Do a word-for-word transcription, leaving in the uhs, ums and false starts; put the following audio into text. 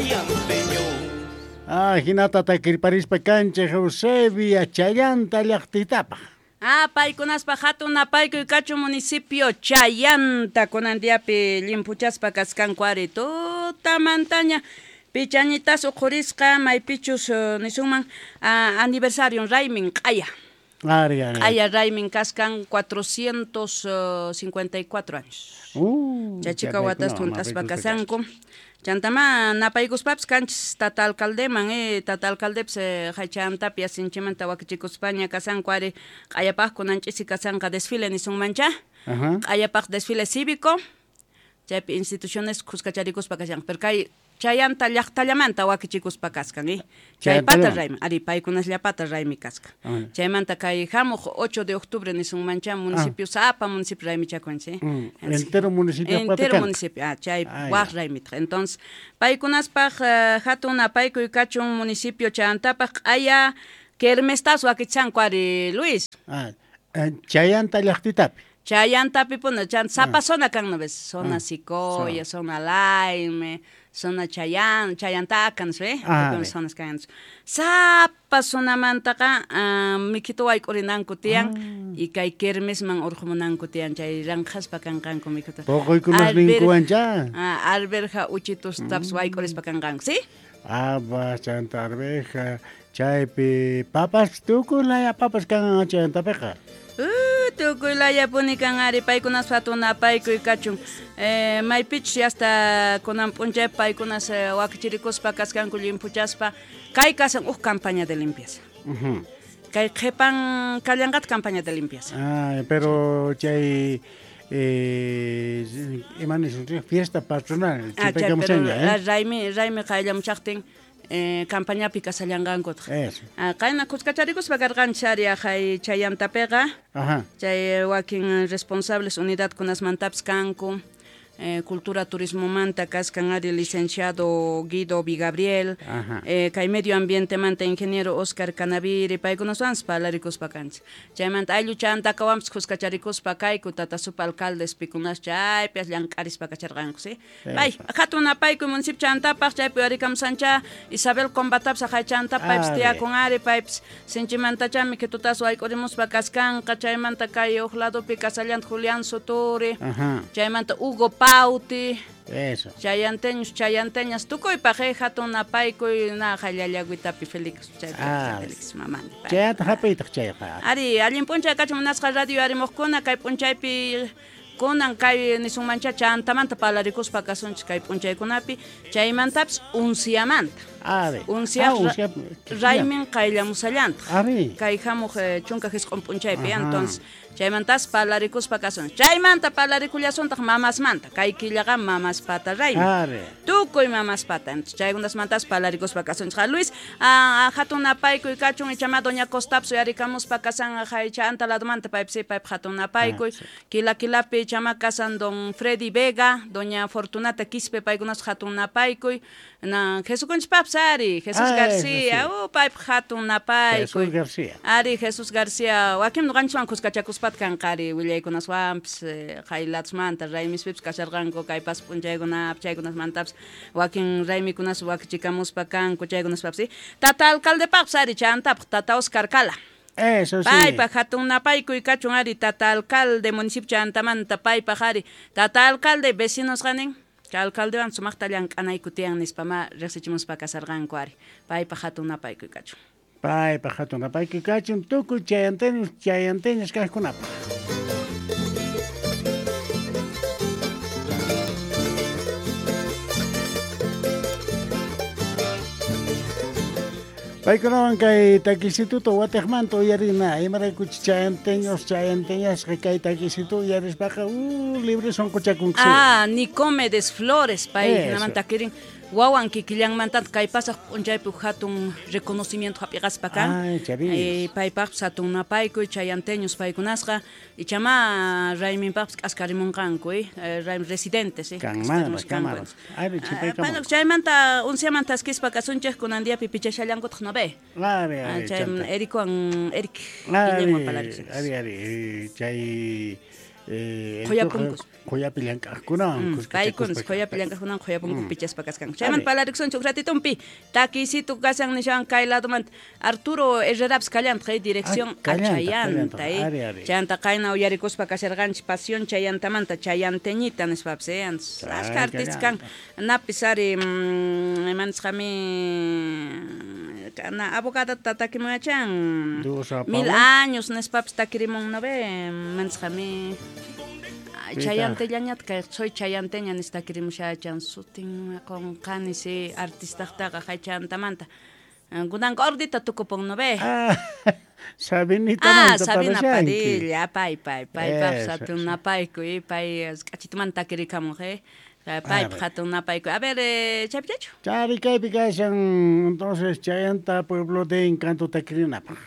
chayanteños. Ah, hinata takirparispa kanchej Eusebia Chayanta llaqtitapaj. Ah, paykunaspa hatun napaykuy kachun municipio Chayanta kunan diapi llimpuchaspa kaskanku ari tutamantaña pichañitas uqhurisqa maypichus uh, nisunman uh, aniversario raymin q'aya. Ari, ari. Q'aya raymin kaskan cuatrocientos cincuenta y cuatro años. Uh, Chachika watas tuntaspa kasanku. Chantama napaykuspapis kanchis tata alcaldeman, eh, tata alcaldepis eh, haychantapia sinchimanta wakichikuspaña kasanku ari q'ayapaq kunan ch'isi kasanqa desfile nisunmancha. Q'ayapaq desfile cívico, chaypi instituciones kuskacharikuspa kashanqa, pero kay chayanta llaqtallamanta wakichikuspa kaskan, eh. Chaypata raymi, ari paykunasllapata raymi kaskan. Chaymanta kay hamuq ocho de octubre nisunmancha municipio sapa municipio raymichakunchik, eh. Mm, entero municipio entero municipio, ah, chay waq raymitaq. Entonces, paykunaspaq uh, hatun napaykuy kachun municipio chayantapaq q'aya kermestas wakichanku ari Luis. Ah, chayanta llaqtitapi. Chayantapi puna, chan sapa zona kan no ves, zona Sicoya, zona Laime, zona Chayan, Chayantaca, no sé, ah, zonas kan. Sapa zonamantaqa uh, mikhito wayk'urinanku tiyan ah. y kay kermesman urqumunanku tiyan chay ranqhaspa kanqanku mikhita. Poquykunasninkuwancha. Ah, alberja uchitus taps mm. wayk'urispa kanqanku, ¿sí? Ah, chanta arveja, chaypi papas tukuy laya papas kan chayantapiqa. Uh, tukuy layapuni kan ari paykunas hatun napaykuy kachun. Eh, maypichus hasta kunan p'unchay paykunas eh, wakichirikuspa kaskanku llimpuchaspa kay kasan uj campaña de limpieza. Uh-huh. Kay qhipan kallanqata campaña de limpieza. Ah, pero chay eh ima nisunchik fiesta patronal ah, chay, pero, eh? Raymi raymi qayllamuchaqtin Eh, campañapi kasallanqankutaq. Ah, qayna kuskacharikuspa karqanchik ari hay chayantapiqa. Ajá. Chay wakin responsables unidadkunasmantapis kanku. Eh, cultura turismomanta kaskan ari licenciado Guido Vigabriel, eh, kay medio ambientemanta ingeniero Oscar Canaviri, paykunaswanpas parlarikuspa kanchik. Chaymanta ayllu chantakawanpas kuskacharikuspa kayku tata supa alcaldes pikunas chaypi llank'arispa kacharqanku, ¿sí? Pay, hatun napaykuy municipio chantapaq chaypi uyarikamusancha Isabel Combatapis hay chantap paypis tiyakun ari paypis sinchimantachá mikhitutas wayk'urimuspa kaskanqa chaymanta kay uq ladopi kasallanta Julián Soturi, chaymanta Hugo Pauti. Eso. Chayanteños, chayanteñas, tukuypaq eh, hatun napaykuy na hallallaguitapi Felix, chay ah, Felix mamani. Chayata hap'iytaq chayqa. Ari, allin p'unchay kachun munasqa radio arimuqkuna kay p'unchaypi kunan kay nisunmancha chantamanta parlarikuspa kasunchik kay p'unchaykunapi chaymantapis unciamanta. Ari. Uncia ah, uncia raymin qayllamusallantaq. Ari. Kay hamuq eh, chunka jisq'un p'unchaypi, entonces chaymantas parlarikuspa kasun. Chaymanta parlarikullasuntaq mamasmanta. Kay killaqa mamaspata raymi. Ari. Tukuy mamaspata. Entonces chaykunasmantas parlarikushpa kasunchik. Luis, ah, hatun napaykuy kachun ichama doña Costaps uyarikamuspa kasan haycha anta ladomanta paypis payp hatun napaykuy. Ah, sí. Kila kilapi ichama kasan don Freddy Vega, doña Fortunata Quispe paykunas hatun napaykuy. Na Jesukunchpaps ari, Jesús ah, García, sí. uh, payp hatun napaykuy. Jesús García. Ari Jesús García, wakin nuqanchikwan kuskachakuspat kanqari willaykunaswanpis qaylatsmanta raymispipis kasharqanku kay pas p'unchaykunapi chaykunasmantapis wakin raymikunas wakichikamuspa kanku chaykunaspapis tata alcaldepaqpis ari chantapaq tata Oscar Cala. Eso sí. Paypaq hatun napaykuy kachun ari tata alcalde municipio chantamanta paypaq ari tata alcalde vecinos qanin chay alcaldewan sumaqta llank'anayku tiyan nispa ma riqsichimuspa kasarqanku ari paypaq hatun napaykuy kachun. Paypaq hatun napaykuy kachun tukuy chayanteños chayanteñas kaqkunapaq. Paykunawan kay takisituta watiqmanta uyarina imaraykuchus chayanteños chayanteñasqa kay takisitu uyarispaqa uh, libre sunquchakunku. Ah, Nicomedes Flores pay hinamanta kirin wawan kikillanmanta kay pasaq p'unchaypi hatun reconocimiento hap'iqaspa kan. Ay, eh, paypaqpis hatun napaykuy chayanteños paykunasqa ichama rayminpaqpis k'askarimunqanku eh, raymi residentes eh. Kanmanpas kanmanpas. Ari ah, chaymanta unciamanta taskispa kasunchik kunan diapi pichashallankutaq no ve. Ari, ari, chay Ericwan Eric Ari, ari, ari, chay Qhuyapunkus. Qhuyapi llank'aqkunawan paykunas qhuyapi llank'aqkunawan qhuyapunku pichaspa kasqanku. Chaymanta parlarikusunchik uj ratitumpi takiysitu kashan nishan kay ladomanta Arturo Herrerapis kallantaq dirección a Chayanta chayanta qayna uyarikuspa kasharqanchik Pasión Chayantamanta Chayanteñita nispapis eh ashka artista kan napis ari imanisqami kana abogadata takimuyachan mil años nispapis takirimun no ve manisqami Chayantellañata kay soy chayanteña nispa takirimushachan sutin qonqani si artistaqtaqa hay chayantamanta kunanqa ordita tukupun no ve Sabinita ah, Sabina Padilla pay pay paypaq hatun napayku pay k'achitumanta takirikamun eh paypaq hatun napayku. A ver chaypichachu chari kaypi kashan entonces Chayanta Pueblo de Encanto takirinapaq.